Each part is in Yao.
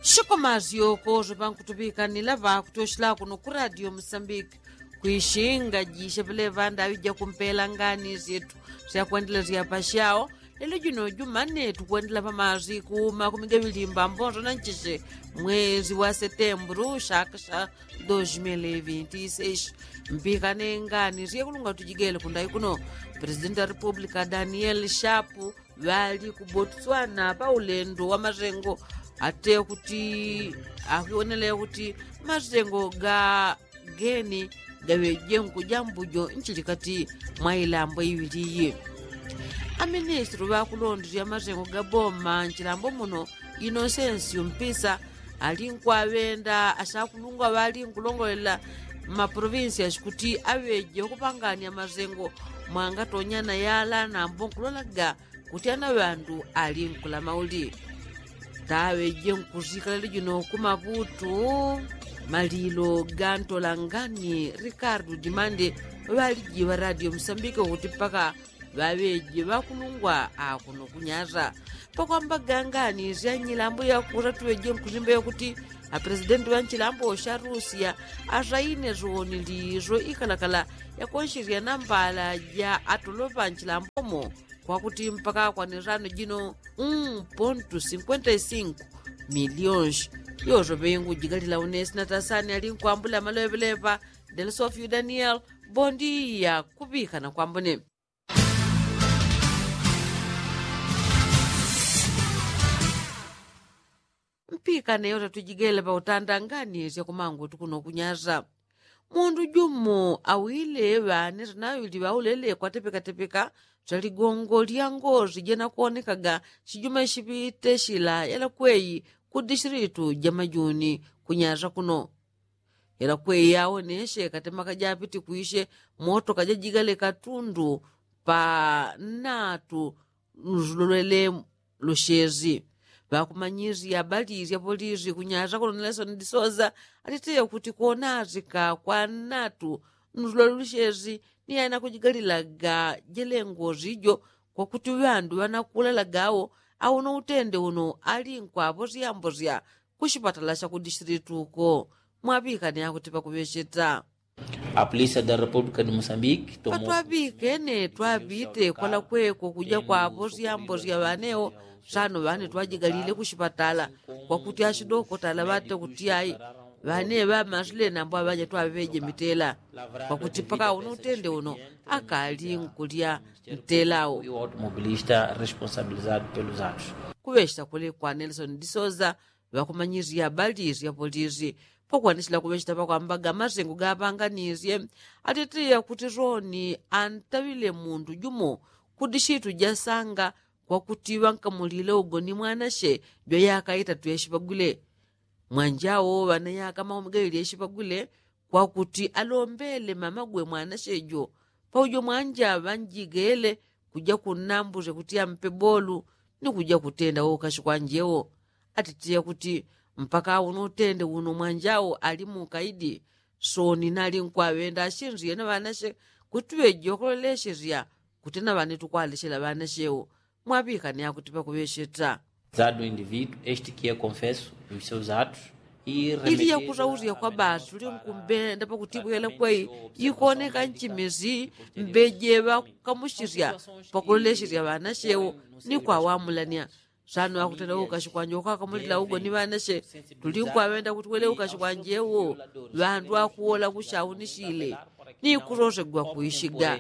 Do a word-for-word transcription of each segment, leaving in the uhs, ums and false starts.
Shikomasyoko syopankutuŵikanila ŵakutyosila kuno ku radio musambiki, kwishinga jishe ŵalevanda aŵija kumpela ngani syetu syakwendelea syapashao. Lelo jino jumane tukwendela pamasiku makumi gaŵili mbambonso na nchishe, mwezi wa setemburu shaka sha dos mil vinti seis. Mpikane ngani syekulunga tujigele kundai kuno. Presidenti wa republika daniel shapu ŵali ku botswana pa ulendo wa masengo, ate kuti akwionele kuti masengo ga geni gaŵeje nkuja mbujo nchilikati mwa ilambo iŵili iyi. Aministri ŵakulondesya masengo ga boma nchilambo muno, inosensi umpisa ali nkwaŵenda asakulungwa ŵali nkulongolela mmaprovinsi yasikuti aŵeje ukupangania masengo mwangatonyana yala nambo nkulolaga kuti ana ŵandu ali nkulamauli. Taŵeje nkusikala lijino kumaputu malilo gantolangani rikardu dimande ŵaliji ŵa radio musambike kuti mpaka ŵaŵeje ŵakulungwa akuno kunyasa. Pakwamba gangani syanyilambo yakusa tuŵeje nkusimba yakuti apresidenti ŵanchilambo sha rusia asaine soniliso ikalakala yakonsherya nambala ja atolopa nchilambomo kwakuti mpaka akwanisano jino un pontu sinkwenta i sinku milionsi. Yoso ŵengu jigalila unesi na tasani ali nkwambula maloŵeleŵa. Delsofio daniel, bondiya kuŵikana kwambone. Mpikane yota tujigele pautanda ngani syakumangu tukuno kunyasa. Mundu jumo awile ŵane sanaŵili ŵaulele kwatepekatepeka saligongo lya ngosi jenakuonekaga sijuma isipite sila yalakweyi ku disilitu ja majuni kunyasa kuno. Yalakweyi yaoneshe katemaka japiti kwishe motoka jajigale katundu pa natu nsulolwele lushezi. Ŵakumanyisya ŵalilya polisi kunyasa kuno nelson disoza atiteya kuti kuonasika kwa natu nsulolwele lushezi ni aina kujigalilaga jelengosi jo kwakuti ŵandu ŵanakulalaga awo. Auno utende uno ali nkwaposyamposya kushipatala sha kudisilitu uko. Mwaŵikane akuti pakuŵecheta. A polícia da república de moçambique tomou patwaŵikene twaŵite kwalakweko kuja kwaposyamposya ŵanewo. Sano ŵane twajigalile kushipatala kwakuti ashidokotala ŵate kuti ai ŵane ŵamasule nambo aŵaja twaŵeje mitela kwakuti mpaka uno utende uno akali nkulya ntelawo. Automobilista responsabilizado pelos atos. Kuŵecheta kuli kwa nelson disoza ŵakumanyisya ŵalilya polisi. Pakwanisila kuŵecheta pakwambaga masengo gapanganisye atitiya kuti soni antaŵile mundu jumo kudishitu jasanga kwakuti ŵankamulile ugoni mwanashe jwa yaka itatu yashipagwile. Mwanjawo ŵana yaka maumi gaili yashipagwile kwakuti alombele mamagwe mwanashe jo paujo mwanja ŵanjigele kuja kunnambusya kuti ampe bolu ni kuja kutenda wokashi kwanje wo. Atitiya kuti mpaka uno utende uno mwanja wo ali mukaidi. Soni nali nkwaŵenda ashinsiye na ŵanashe kuti ŵeji wakuloleshesya kuti na ŵane tukwaleshela ŵanashe wo. Mwaŵikane akuti pakuŵesheta. Zado indivíduo este que é confesso dos seus atos. Ili yakusausya kwa basi tuli nkumbenda pakutibwela kwei ikoneka nchimisi mbeje ŵakukamusisya pakulolesesya ŵanashe wo ni kwawamulanya. Sano akutenda ukashi kwanje ukakamulila ugo ni ŵanashe tuli nkwaŵenda kuti wele ukashi kwanje wo ŵandu akuwola kushaunisile ni kusosegwa kuishiga.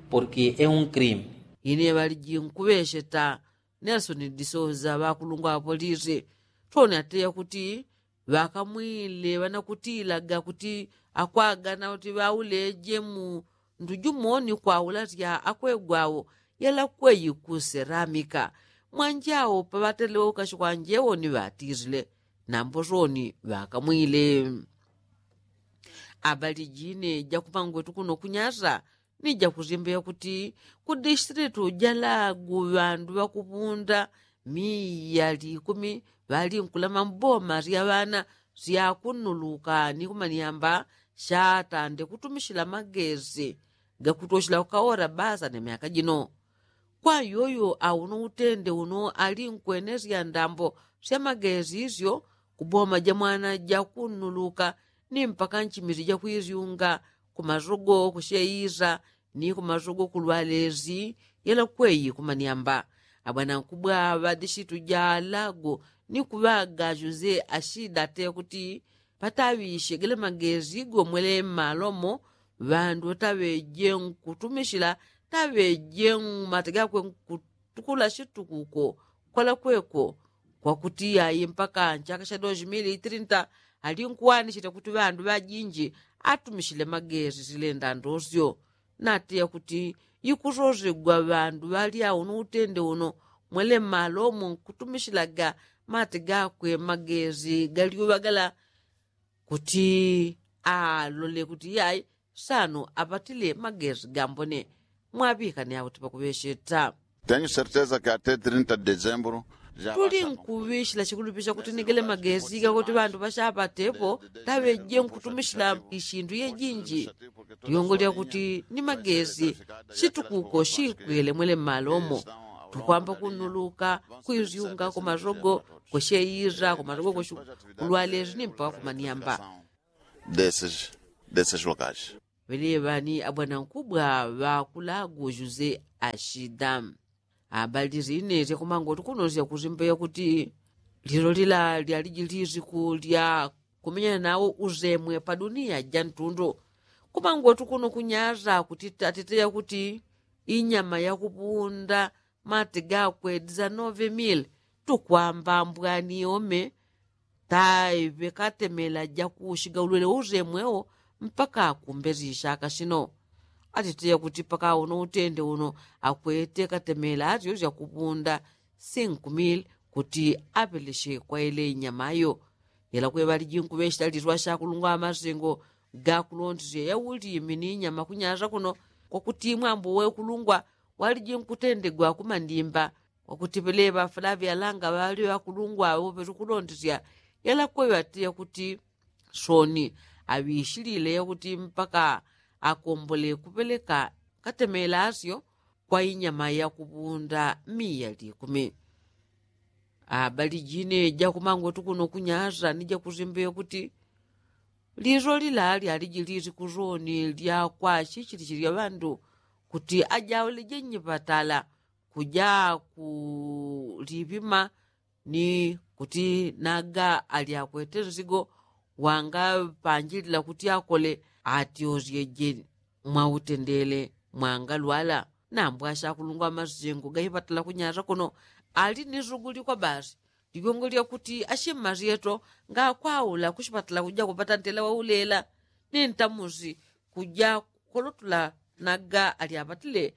Porque é um crime. Ine ŵaliji nkuŵesheta. Nelsoni disoza ŵakulungwa ŵapolisi toni ateya kuti ŵakamwile ŵanakutilaga kuti akwagana kuti ŵauleje mundu jumo ni kwaula sya akwegwawo yalakweyi kuseramika. Mwanjawo paŵatelewe ukashi kwanjewo ni ŵatisile nambo soni ŵakamwile. Abali jine jakumangwetu kuno kunyasa ni jakusimba yakuti ku distilitu ja lagu ŵandu ŵakupunda miya likumi ŵalinkulama mboma sya ŵana sya kunuluka ni kumanyamba shatande kutumisila magesi gakutoshela kukaora basa ne myaka jino. Kwa yoyo auno utende uno ali nkwenesya ndambo sya magezi isyo ku boma ja mwana ja kunnuluka ni mpaka nchimizi ja kwizyunga ku masogo ku sheisa ni ku masogo ku lwalezi yela kweyi ku manyamba. Abwanankubwa ŵa dishitu ja lago ni kuŵaga jose ashida te kuti pataŵishe gele magezi gomwele mmalomo ŵandu taŵeje nkutumishila taŵeje mmate gakwe nkutukula shitukuko kwala kweko. Kwakuti ayi mpaka nchaka sha dos mili trinta ali nkuwanishile kuti ŵandu ŵajinji atumishile magezi silenda ndosyo. Nateya kuti ikusosegwa ŵandu ŵalya uno utende uno mwele mmalomo nkutumishilaga mate gakwe magezi galyuŵa gala kuti alole kuti iyai sano apatile magezi gambone. Mwaŵikane akuti pakuŵesheta. Tenyu serteza ke ate trinta de dezembro tuli nkuŵishila chikulupisha kuti nigele magezi gakuti ŵandu ŵashapatepo taŵeje nkutumishila ishindu yejinji. Liongo lyakuti ni magezi shitukuko shikwile mwele mmalomo tukwamba kunnuluka kwizyunga ku masogo ku sheisa ku masogo ku lwalezi ni mpaka ku manyamba. Desses desses lokais. Ŵeleŵani abwanankubwa ŵakulago jose ashida. Abali zine syakumangoti kuno syakuzimbeya kuti lilo lila lyaliji liziku lya kumenyana nawo uzemwe pa duniya ja ntundu. Kumangoti kuno kunyaza kuti tateteya kuti inyama yakupunda mate gakwe dizanove mili tukwamba mbwani ome taiŵe katemela jakushiga ulwele uzemwewo mpaka kumbezi ishaka shino. Atiteya kuti paka uno utende uno akwete katemela asyo syakupunda sinkumili kuti apeleshe kwa ile inyama ayo. Yela kweŵaliji nkuŵeshela liswa shakulungwa amasengo gakulondesya yaulimi ni inyama kunyasa kuno kwakuti mwambo wekulungwa waliji nkutendegwa kumandimba. Kwakuti peleŵa fulaŵi alanga ŵali ŵakulungwa awo petukulondesya yala kweŵa ati yakuti soni aŵishilile yakuti mpaka akombole kupeleka katemela asyo kwa inyama yakupunda miya likumi. Abali jine jakumangwetu kuno kunyasa ni jakuzimbe yakuti liso lila lyaliji lisiku soni lyakwashishilishe lya ŵandu kuti ajaule jenyipatala kuja kuliŵima ni kuti naga alyakwete nsigo wangapanjilila kuti akole atyosyeje mwautendele mwangalwala. Nambwasha akulungwa amasengo gaipatala kunyasa kuno ali ni suguli kwa basi ligongo lyakuti ashimmasyeto ngakwaula kushipatala kuja kupata ntela waulela ni ntamusi kuja kolotula naga alyapatile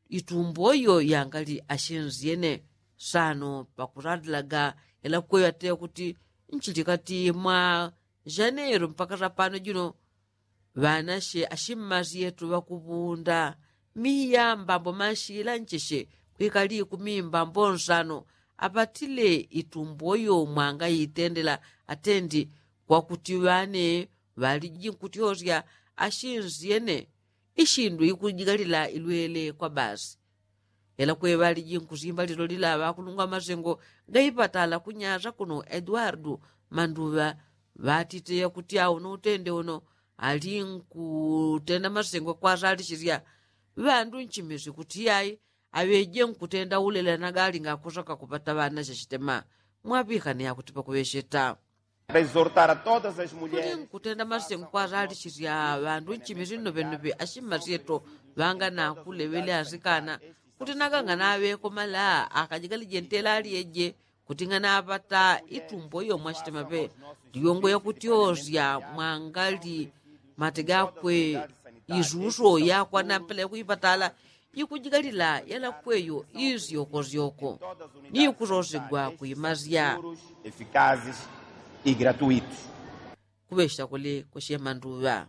itumbo iyo yangali ashinsyene. Sano pakulandilaga yalakweŵa te kuti nchilikati mwa janero mpaka sapano jino ŵanashe ashimmasyeto ŵakupunda miya mbambo mashilancheshe kwikali ikumi mbambo nsano apatile itumbo iyo mwangaitendela atendi kwakuti ŵane ŵaliji nkutyosya ashinsyene ishindu ikujigalila ilwele kwa basi. Ela kweŵaliji nkusimba lilo lila ŵakulungwa amasengo gaipatala kunyasa kuno eduardu manduŵa ŵatiteya kuti auno utende uno ali nkutenda masengo kwasalishisya ŵandu nchimisi kuti yai aŵeje nkutenda ulela nagali ngakosoka kupata ŵana shashitema. Mwaŵikane akuti pakuŵesheta. Kuli nkutenda masengo kwasalishisya ŵandu nchimisi nnoŵennoŵe ashimasyeto ŵanga nakuleŵele asikana kuti naganga naŵeko mala akajigalije ntela alyeje kuti nganaŵata itumbo iyo mwashitemaŵe. Liyongo yakutyosya mwangali mate gakwe isuso yakwana mpela yakuipatala ikujigalila yalakweyo isyokosyoko ni kusosegwa kuimasya. Efikazes e gratuitos. Kuŵesha kuli kushemanduŵa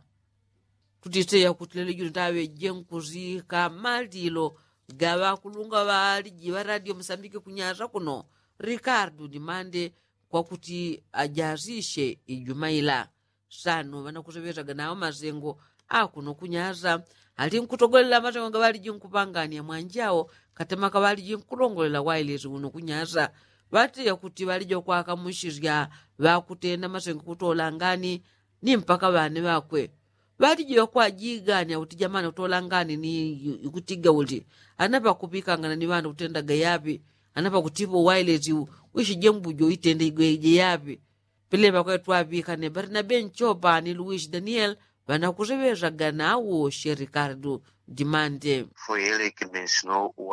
tutiteya kuti lelo juno taŵeje nkusika malilo gaŵakulunga ŵaliji ŵa radio musambiki kunyasa kuno rikardu ni mande kwakuti ajasishe ijumaila. Sano ŵanakuseŵesaga nawo masengo akuno kunyasa ali nkutogolela masengo gaŵaliji nkupangania mwanjao. Katema kaŵaliji nkulongolela wailesi uno kunyasa ŵatiya kuti ŵaliji ŵakwakamusisya ŵakutenda masengo kutola ngani ni mpaka ŵane ŵakwe. Ŵaliji ŵakwajigania kuti jamani kutola ngani ni ikutiga uli ana ŵakuŵikangana ni ŵana kutendaga yaŵi ana ŵakutiŵo wailesi uishije mbujo itende igweje yaŵi. Pele ŵakwe twaŵikane barnabe nchopa ni luwisi daniel ŵanakuseŵesaga nawo she rikardu dimande.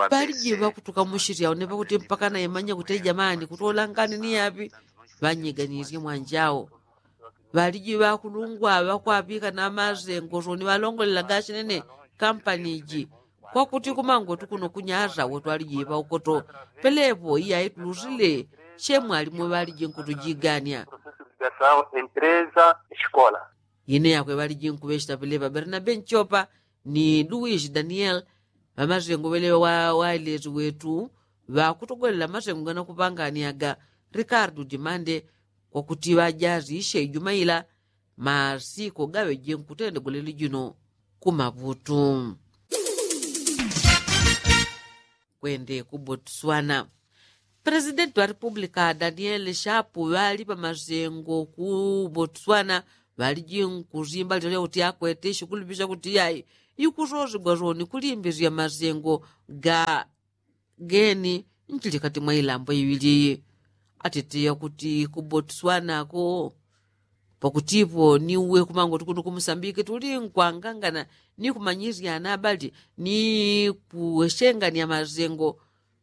Ŵaliji ŵakutukamusisya une ŵakuti mpaka naimanya kuti jamani kutola ngani ni yaŵi. Ŵanyiganisye mwanjao ŵaliji ŵakulungwa ŵakwaŵikana masengo soni ŵalongolela gasinene kampani iji. Kwakuti kumangwetu kuno kunyasa wetwaliji ŵaukoto pelepo iyaitulusile. Shemwalimu ŵaliji nkutujigania. Ine yakwe ŵaliji nkuŵesita pelepa barnabe nchopa ni luwisi daniel. Ŵamasengo ŵeleŵa wailesi wetu ŵakutogolela masengo ganakupanganiaga rikardu dimande. Kwakuti ŵajazisye ijumaila masiko gaŵeje nkutendegwa leli jino kumaŵutu. Kwende ku botswana. Presidenti wa republika daniel shapu ŵali pamasengo ku botswana ŵaliji nkusimba lito lyakuti akwete ishikulupisha kuti yai ikusosigwa soni kulimbisya masengo ga geni nchilikati mwa ilambo iŵili. Atitiya kuti ku botswana ko pakutipo ni uwe kumango tukunu kumusambiki tuli nkwangangana ni kumanyisyana abali ni kuweshengania masengo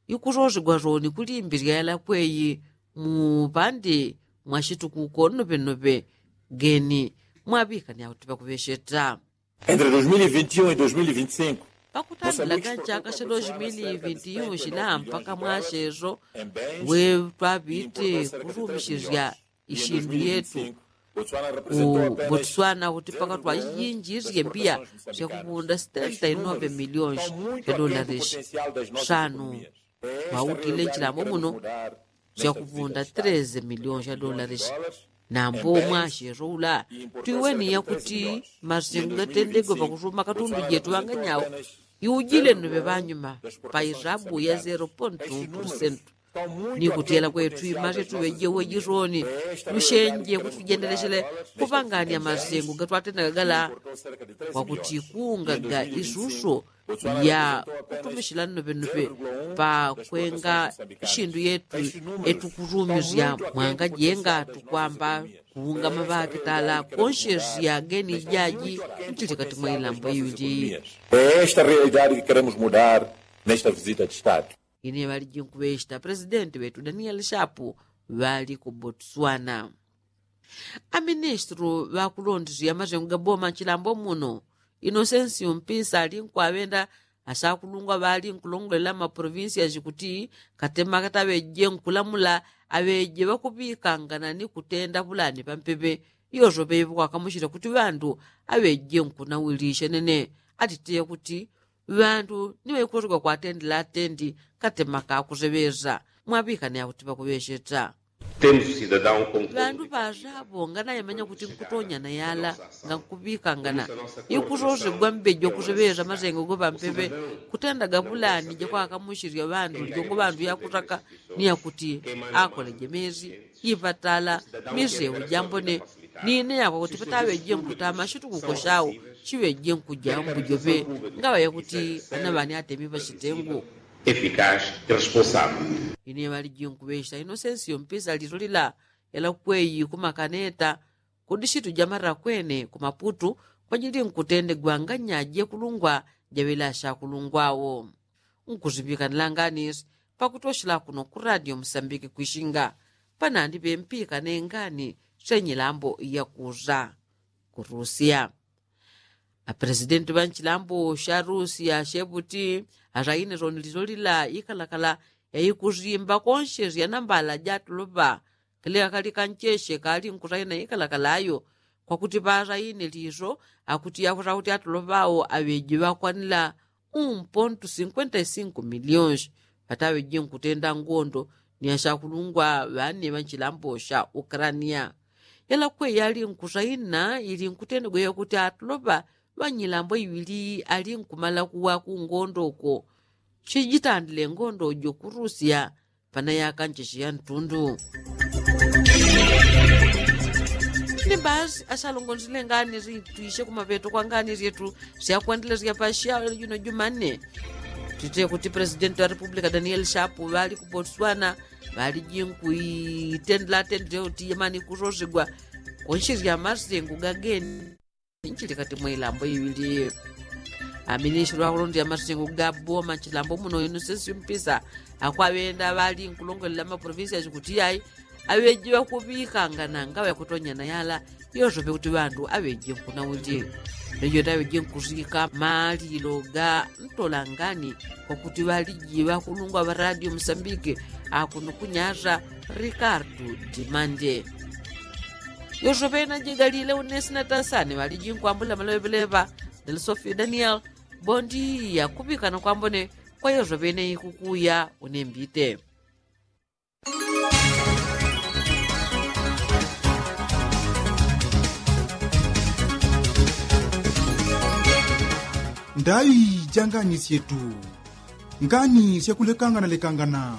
ikusosigwa soni kulimbisya yalakweyi. Mupande mwashitukuko nnopennope geni mwaŵikania kuti pakuŵesheta. Entre dois mil e vinte e um e dois mil e vinte e cinco. Pakutandila ga nchaka sha dois mil e vinte e um shila mpaka mwasheso we twaŵite kusumishisya ishindu yetu ku botswana kuti paka twayinjisye mbiya syakupunda setenta e nove miliyoni sha dolaris. Sanu mwautile nchilambo muno syakupunda treze miliyoni sha dolaris. Nambo mwasheso ula twiweniya kuti masengo gatendegwe pakusuma katundu jetu ŵanganyawo iujile nnuŵe ŵanyuma pa isabu ya zero pontu unu pulusentu. Ni kutiyela kwetu imasye tuŵeje uŵeji soni lushenje kuti tujendeleshele kupangania masengo gatwatendaga gala kwakuti kuungaga isuso ya kutumishila nnoŵennoŵe pakwenga ishindu yetu etukusumisya mwangajenga tukwamba kuungama ŵakitala konshesya geni ijaji ntilikati mwa ilambo iwili. Esta realidade ke keremos mudar nesta visita de estado. Ine ŵaliji nkuŵeshita presidenti ŵetu daniel shapu ŵali ku botswana. Aministru ŵakulondisya masengo ga boma nchilambo muno inosensi umpisa ali nkuŵenda asakulungwa ŵali nkulongolela maprovinsiasi kuti katema kataŵeje nkulamula aŵeje ŵakuŵikangana ni kutenda ŵulani pampepe. Iyosope iŵokwakamushila kuti ŵandu aŵeje nkunawilisya nene atiteya kuti ŵandu ni ŵaikusosigwa kwatendela atendi katema kakuseŵesa mwaŵikane akuti ŵakuŵesheta. Ŵandu ŵasapo nganaimanya kuti nkutonya na yala ngankuŵikangana ikusosigwa mbeji wakuseŵesa masengo go pampepe kutendaga ŵulani jakwakamushilya ŵandu lijongo ŵandu yakusaka ni yakuti akoleje mezi ipatala miseu jambone. Nine yakwa kuti pataŵeje nkutama shitukuko shau shiŵeje nkuja mbujope ngaŵa yakuti anaŵani atemi ŵashitengu. Efikasi iresponsable. Ine ŵaliji nkuŵesha inosensi yompisa lilolila yalakweyi kumakaneta kudi shitu jamarakwene kumaputu kwajili nkutendegwa nganyaje kulungwa jaŵelasha kulungwawo. Nkusiŵikanila nganisi pakutoshela kuno ku radio musambiki kwishinga panandi ŵempikane ngani shenyilambo yakusa ku rusia. Apresidenti ŵa nchilambo sha rusia sheŵuti asaine soni lilolila ikalakala yaikusimba konshesya nambala jatoloŵa. Kali akali kancheshe kali nkusaina ikalakala ayo kwakuti ŵasaine liso akuti yakusa kuti atoloŵao aŵeji ŵakwanila un pontu sinkwenta i sinku milionsi. Ŵataŵeji nkutenda ngondo ni ashakulungwa ŵane ŵa nchilambo sha ukrania. Yalakwe yali nkusaina ili nkutenda gweya kuti atoloŵa ŵanyilambo iŵili ali nkumala kuwa kungondo uko. Chijitandile ngondo jo kurusya pana yaka nchechi ya ntundu. Ni basi asalongondile ngani zitwishe kumapeto kwa ngani zyetu syakwendelesya pa syalo juno jumanne. Tite kuti presidenti wa republika danieli shapu ŵali ku botswana ŵali jinkuitendela atendile uti yemani kusosigwa kunshi sya masengu gageni. Nchili kati mwa ilambo iŵili. Aminisili ŵakulondela masengu ga boma nchilambo muno inu sesi mpisa akwaŵenda ŵali nkulongolela maprovinsi yachikuti yayi aŵeji ŵakuŵikanga na ngaŵa yakutonyana yala. Yosope kuti ŵandu aŵeji nkunaundi. Lejo taŵeji nkusika malilo ga ntolangani kwakuti ŵaliji ŵakulungwa ŵa radio musambike akuno kunyasa. Rikardu dimande. Yosope najigalile unesi na tansani ŵaliji nkwambula maleŵeleŵa. Del sofio daniel. Bondi yakuŵikana kwambone kwa yosope neikukuya unembite. Ndaŵi ja ngani syetu. Ngani syakulekangana lekangana.